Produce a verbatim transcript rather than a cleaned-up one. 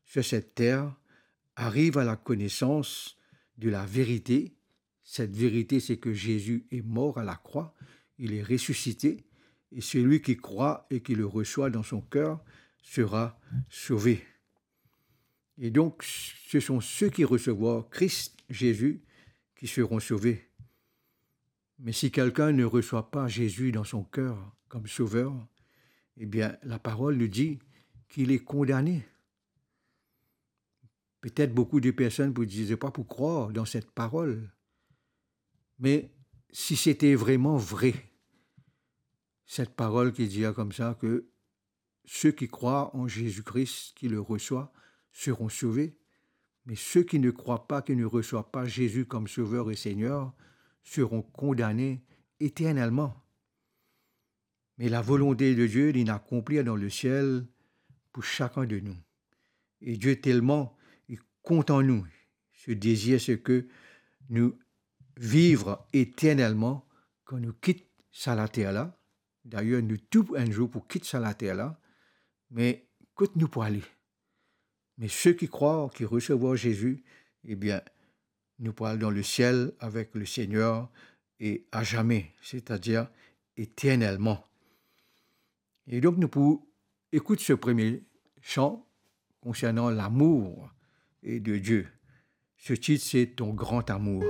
sur cette terre arrive à la connaissance de la vérité. Cette vérité, c'est que Jésus est mort à la croix, il est ressuscité, et celui qui croit et qui le reçoit dans son cœur sera sauvé. Et donc, ce sont ceux qui recevront Christ Jésus qui seront sauvés. Mais si quelqu'un ne reçoit pas Jésus dans son cœur comme sauveur, eh bien, la parole nous dit qu'il est condamné. Peut-être beaucoup de personnes pour dire, c'est pas pour croire dans cette parole. Mais si c'était vraiment vrai, cette parole qui dit comme ça, que ceux qui croient en Jésus-Christ, qui le reçoivent, seront sauvés, mais ceux qui ne croient pas, qui ne reçoivent pas Jésus comme Sauveur et Seigneur, seront condamnés éternellement. Mais la volonté de Dieu, il est accomplie dans le ciel pour chacun de nous. Et Dieu tellement, il compte en nous. Ce désir, c'est que nous vivre éternellement quand nous quittons sa later la. D'ailleurs, nous tous, un jour, pour quitter sa later la. Mais kot nou pou ale? Mais ceux qui croient, qui recevront Jésus, eh bien, nous pourrons aller dans le ciel avec le Seigneur et à jamais, c'est-à-dire éternellement. Et donc, nous pouvons écouter ce premier chant concernant l'amour et de Dieu. Ce titre, c'est Ton grand amour.